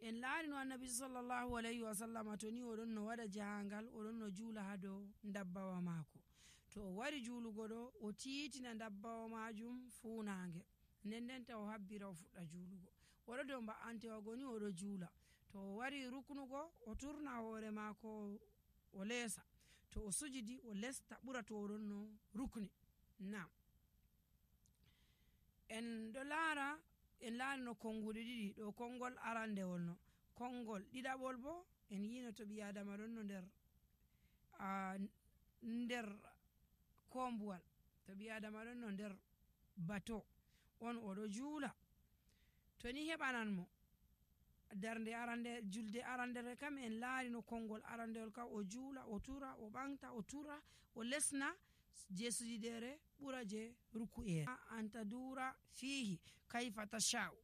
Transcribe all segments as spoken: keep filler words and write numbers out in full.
en laari no annabi sallallahu alayhi wa sallam to ni oɗon no waɗa jahangal oɗon no juula ha dow dabbawa maako. To o wari juulugo ɗo o tiitina dabbawa majum fuunange, nden ndenta o habbira o fuɗɗa juulugo. oɗo dow mba'antewa ni oɗo juula. To o wari ruknugo o turna hoore maako o leesa, to o sujidi o lesta ɓura to oɗon no rukni. Nam en ɗo laara en laari no konguɗe ɗiɗi ɗo, kongol arandewol no, kongol ɗiɗaɓol bo en yino to ɓi adama ɗon no nder uh, nder kombuwal, to ɓi adama ɗon no nder bato on oɗo juula. To ni heɓanan mo darnde arande julde arandere kam en laari no kongol arandewol kam o juula o tura o ɓanta o tura o lesna je sujidere ɓura je ruku'e. Anta dura fihi kayfa tasha'u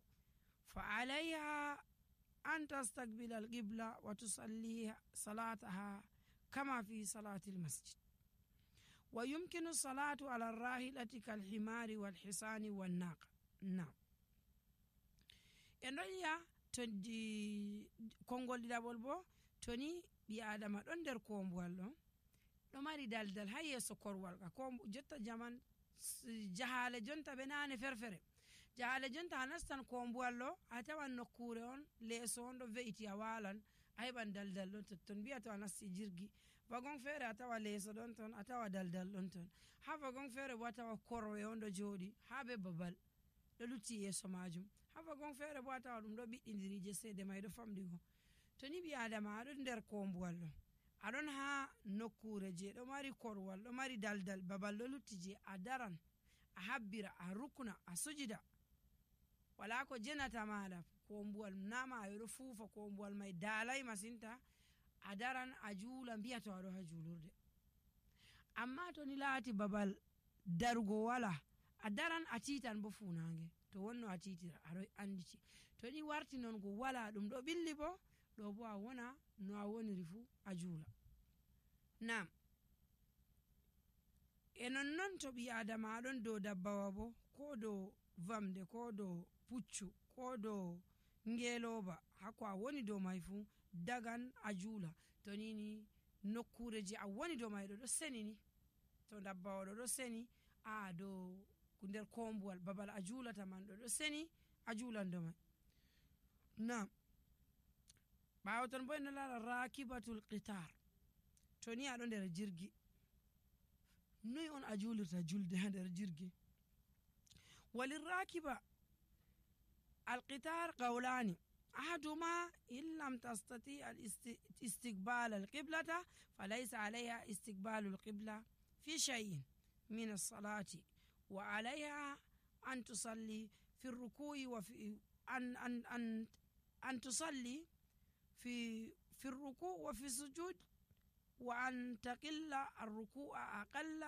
fa alayha an tastaqbila alqibla wa tusalli salataha kama fi salati almasjid wa yumkinu salatu ala arrahilati kalhimari walhisani wannaqa. Nam en ɗon yi'a to kongol ɗiɗaɓol bo to ni ɓi adama ɗon nder kombuwal ɗon ɗo mari daldal ha yeeso korwal ka. ko jotta jaman jahale jonta ɓe nane ferfere, jahale jonta a nastan kombuwal ɗo a tawan nokkure on leeso on ɗo ve'iti a walan a heɓan daldal ɗon totton. mbiya to a nasti jirgi wagon feere a tawa leeso ɗon ton a tawa daldal ɗon ton, ha wagon feere bo a tawa korwe on ɗo jooɗi ha be babal ɗo lutti yeeso majum, ha wagon feere bo a tawa ɗum ɗo ɓiɗɗidiri je seede may ɗo famɗigo. to ni ɓi adama aɗon nder kombuwal ɗo aɗon ha nokkure je ɗo mari korwal ɗo mari daldal babal ɗo lutti je a daran a habbira a rukna a sujida wala ko jenata maɗa, kombuwal nama ayo ɗo fuufa kombuwal may dalay masinta, a daran a juula mbiya to aɗo ha juulurde. amma to ni laati babal darugo wala a daran a titan bo funange, to wonno a titira aɗo anditi. to ni warti non go wala ɗum ɗo ɓilli bo ɗo bo a wona no a woniri fu a juula. Nam e nonnon to ɓi adama aɗon dow dabbawa bo, ko dow vamde ko dow puccu ko dow ngeloba, hako a woni dow may fu dagan a juula. to nini nokkure je a woni dow may ɗo ɗo seni ni, to dabbawa ɗo ɗo seni a dow nder kombuwal babal a juulata man ɗo ɗo seni a juulan dow may. Nam ɓawo ton bo en lara rakibatul qitar, to ni aɗo nder jirgi noy on a juulirta julde ha nder jirgi. walirrakiba alqitar qawlani ahaduma in lam tastati istiqbal alqiblata falaysa alayha istiqbalu alqibla fi shay'in min as-salati wa alayha an tusalli fi ar-ruku'i wa fi an an an an tusalli في في الركوع وفي السجود وأن تقل الركوع أقل